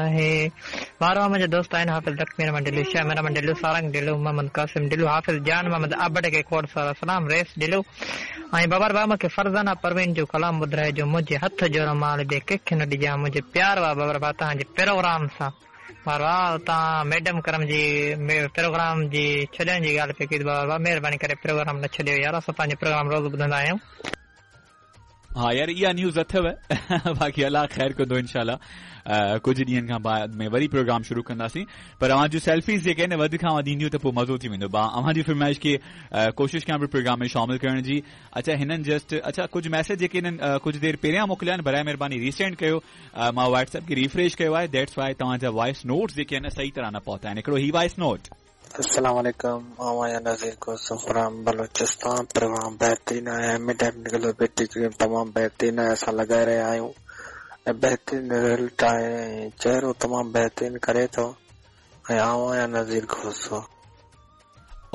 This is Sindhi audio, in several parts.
آهي. وارو منهنجا دوست آهن حافظ لکمير احمد ڍلو، شاهه مير احمد ڍلو، سارنگ ڍلو، محمد قاسم ڍلو، حافظ جان محمد ابڙ کي کوڙ سارا سلام، رئيس ڍلو ۽ بابر ڀاء مونکي فرزانه پروين جو ڪلام ٻڌرائجو منهنجي هٿ جو رومال ٻئي ڪنهن کي نه ڏجان منهنجي پيار وا بابر ڀاء توهان جي پروگرام سان وارو توهان ميڊم ڪرم جي پروگرام جي ڇڏڻ جي ڳالهه پئي ڪئي بابر ڀاء مهرباني ڪري پروگرام نه ڇڏيو يار اسان توهان جو پروگرام روز ٻڌندا آهيون. ها يار اها نيوز اٿو باقي الله خير ڪندو انشاء الله ڪجهه ڏينهن کان بعد ۾ وري پروگرام شروع ڪنداسين پر اوهان جون سيلفيز جيڪي آهن وڌ کان وڌ اينديون ته پوء مزو ٿي ويندو با اوهان جي فرمائش کي ڪوشش ڪيان پيو پروگرام ۾ شامل ڪرڻ جي اڇا هنن جسٽ اڇا ڪجهه ميسج جيڪي هنن ڪجهه دير پهريان موڪليا آهن برائي مهرباني ريسينڊ ڪيو مان واٽس ايپ کي ريفريش ڪيو آهي that's why توهان جا وائس نوٽس جيڪي آهن صحيح طرح نه پهتا آهن هڪڙو هي وائس نوٽ السلام عليڪم آئون آهيان نذير کوسو فرام بلوچستان پروگرام بهترين آهي هيمي ٽيڪنيڪل بيوٽي ڪريم تمام بهترين آهي اسان لڳائي رهيا آهيون ۽ بهترين رزلٽ آهي ۽ چهرو تمام بهترين ڪري ٿو ۽ آئون آهيان نذير کوسو.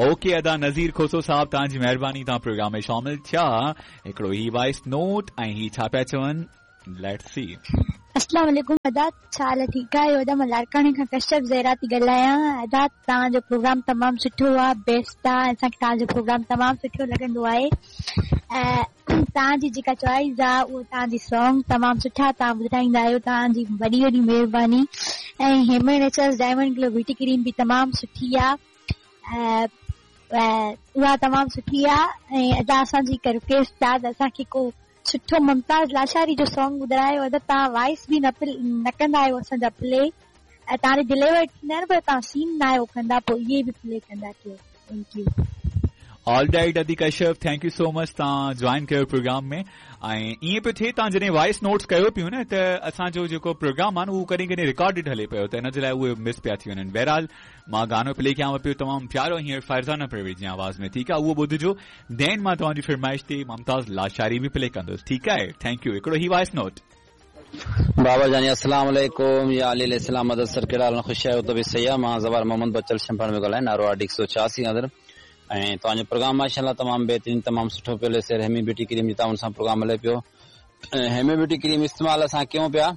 اوڪي ادا نذير کوسو صاحب توهان جي مهرباني توهان پروگرام ۾ شامل ٿيا هڪڙو هي وائس نوٽ ۽ هي ڇا پيا چون let's see. اسلام عليڪم ادا ڇا حال ٺيڪ آهيو ادا مان لاڙڪاڻي کان ڪشف زهرا ٿي ڳالهايان ادا توهان جو پروگرام تمام سٺو آ بيسٽ آ اسان کي توهان جو پروگرام تمام سٺو لڳندو آهي ۽ توهان جي جيڪا چوائس آ اهو توهان جي سانگ تمام سٺا توهان ٻڌائيندا آهيو توهان جي وڏي وڏي مهرباني ۽ hemi naturals diamond glow beauty cream به تمام سٺي آ ۽ اها تمام سٺي آ ۽ ادا اسان جي هڪ رڪويسٽ آ ته اسان کي ڪو سٺو ممتاز لاشاري جو سانگ ٻڌرايو ادا توهان وائس به نه نه ڪندا آهيو اسان جا پلي ۽ توهان جي ڊليور ٿيندا آهن پر توهان سين نه آهيو ڪندا پوء اهي به پلي ڪندا ڪيو thank you. All right ادي ڪشف thank you سو مچ توهان جوائن ڪيو پروگرام ۾ ۽ ائين پيو ٿئي توهان جڏهن وائس نوٽس ڪيو پيو نه ته اسان جو جيڪو پروگرام آهي نه اهو ڪڏهن ڪڏهن رڪارڊڊ هلي پيو ته ان جي لاء اهي مس پيا ٿي وڃن بهرحال مان گانو پلي ڪيانو پيو تمام پيارو هينئر فرزانه پروين جي آواز ۾ ٺيڪ آهي اهو ٻڌجو دين مان توهان جي فرمائش تي ممتاز لاشاري به پلي ڪندس ٺيڪ آهي thank you هڪڙو هي وائس نوٽ. بابا جاني السلام عليڪم يا علي عليه السلام مدد سر ڪهڙا حال آهن خوش آهيو طبيعت صحيح آهي مان زوار محمد بچل شمپاڻ پيو ڳالهايان نارو آر ڊي 186 کان سر ۽ توهان جو پروگرام ماشاءالله تمام بهترين تمام سٺو پيو هلي سر هيمي بيوٽي ڪريم جي تعاون سان پروگرام هلي پيو ۽ هيمي بيوٽي ڪريم استعمال اسان ڪيون پيا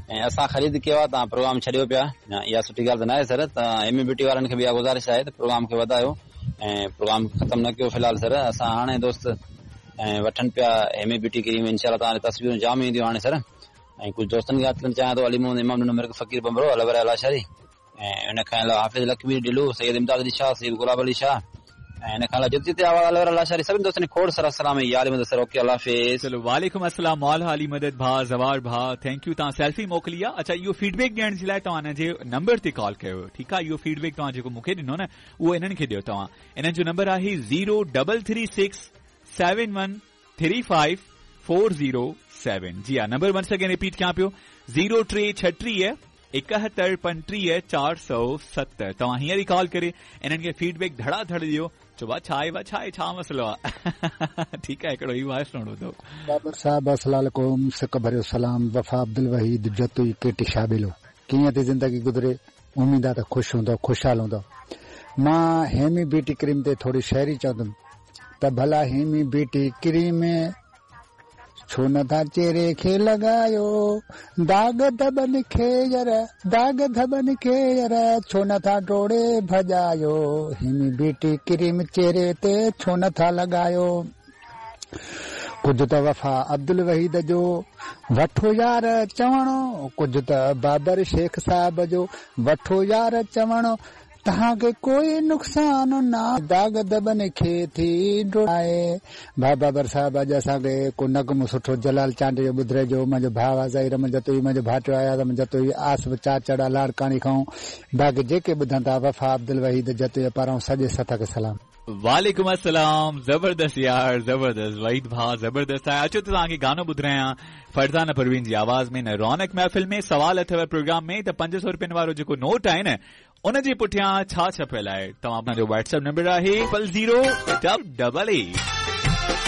۽ اسان خريد ڪيو آهي توهان پروگرام ڇڏيو پيا اها سٺي ڳالهه ته ناهي سر ته هيمي بيوٽي وارن کي به اها گذارش آهي ته پروگرام کي وڌايو ۽ پروگرام ختم نه ڪيو في الحال سر اسان هاڻي دوست ۽ وٺن پيا هيمي بيوٽي ڪريم انشاء الله توهان تصويرون جام اينديون هاڻي سر ۽ ڪجهه دوستن کي ياد ڪرڻ چاهيان ٿو علي محمد امام ڏنو مرڪ فقير ڀنڀرو الور لاشاري ۽ ان کان علاوه حافظ لکمير ڍلو، سيد امداد علي شاهه، سيد گلاب علي شاهه ۽ ان کان علاوه جتي جتي آواز الور لاشاري سڀني دوستن کي کوڙ سارا سلام ۽ يا علي مدد سر اوڪي الله حافظ. چلو وعليڪم السلام مولا علي مدد ڀاء زوار ڀاء thank you توهان سيلفي موڪلي آ اڇا اهو فيڊ بيڪ ڏيڻ جي لاء توهان انهن جي نمبر تي ڪال ڪيو ٺيڪ آ اهو فيڊ بيڪ توهان جيڪو مون کي ڏنو نه اهو انهن کي ڏيو توهان انهن جو نمبر آهي zero double three six seven one three five four zero seven جي ها نمبر ونس اگين رپيٽ ڪيان پيو زيرو ٽي ڇٽيهه ايڪهتر پنٽيهه چار سؤ ست توهان هينئر ئي ڪال ڪري انهن کي فيڊ بيڪ ڌڙا ڌڙ ڏيو چئو ڀا ڇا آهي ڀا ڇا آهي ڇا مسئلو آهي ٺيڪ آهي هڪڙو هي وائس نوٽ ٻڌو. بابر صاحب السلام عليڪم سڪ ڀريو سلام وفا عبدالوحيد جتوئي ڪيٽي شابيلو ڪيئن ٿي زندگي گذري اميد آ ته خوش هوندؤ خوشحال هوندؤ مان هيمي بيوٽي ڪريم تي ٿوري شاعري چوندم ته ڀلا هيمي بيوٽي ڪريم ڇو نه ٿا چهري کي لڳايو داغ ڌٻن کي ير داغ ڌٻن کي ير ڇو نه ٿا ڊوڙي ڀڄايو هيمي بيوٽي ڪريم چهري تي ڇو نه ٿا لڳايو ڪجهه ته وفا عبدالوحيد جو وٺو يار چوڻو ڪجهه ته بابر شيخ صاحب جو وٺو يار چوڻو توهان کي ڪوئي نقصان نه داغ ڌٻن کي ٿي ڊوڙائي. ڀاء بابر صاحب اڄ اسان کي ڪو نغمو سٺو جلال چانڊيي جو ٻڌرائجو منهنجو ڀاء آ ظهير احمد جتوئي منهنجو ڀائٽيو اياز احمد جتوئي آصف چاچڙ آ لاڙڪاڻي کان باقي جيڪي ٻڌن ٿا وفا عبدالوحيد جتوئي پاران سڄي سٿ کي سلام. وعليڪم السلام زبردست يار زبردست وحيد ڀاء زبردست آهي اچو ته توهان کي گانو ٻڌرايان فرزانه پروين جي آواز ۾ نه رونق محفل ۾ سوال اٿو پروگرام ۾ ته 500 روپين وارو جيڪو نوٽ آهي نه ان جي پٺيان ڇا ڇپيل آهي توهان جو واٽس ايپ نمبر آهي triple zero double eight.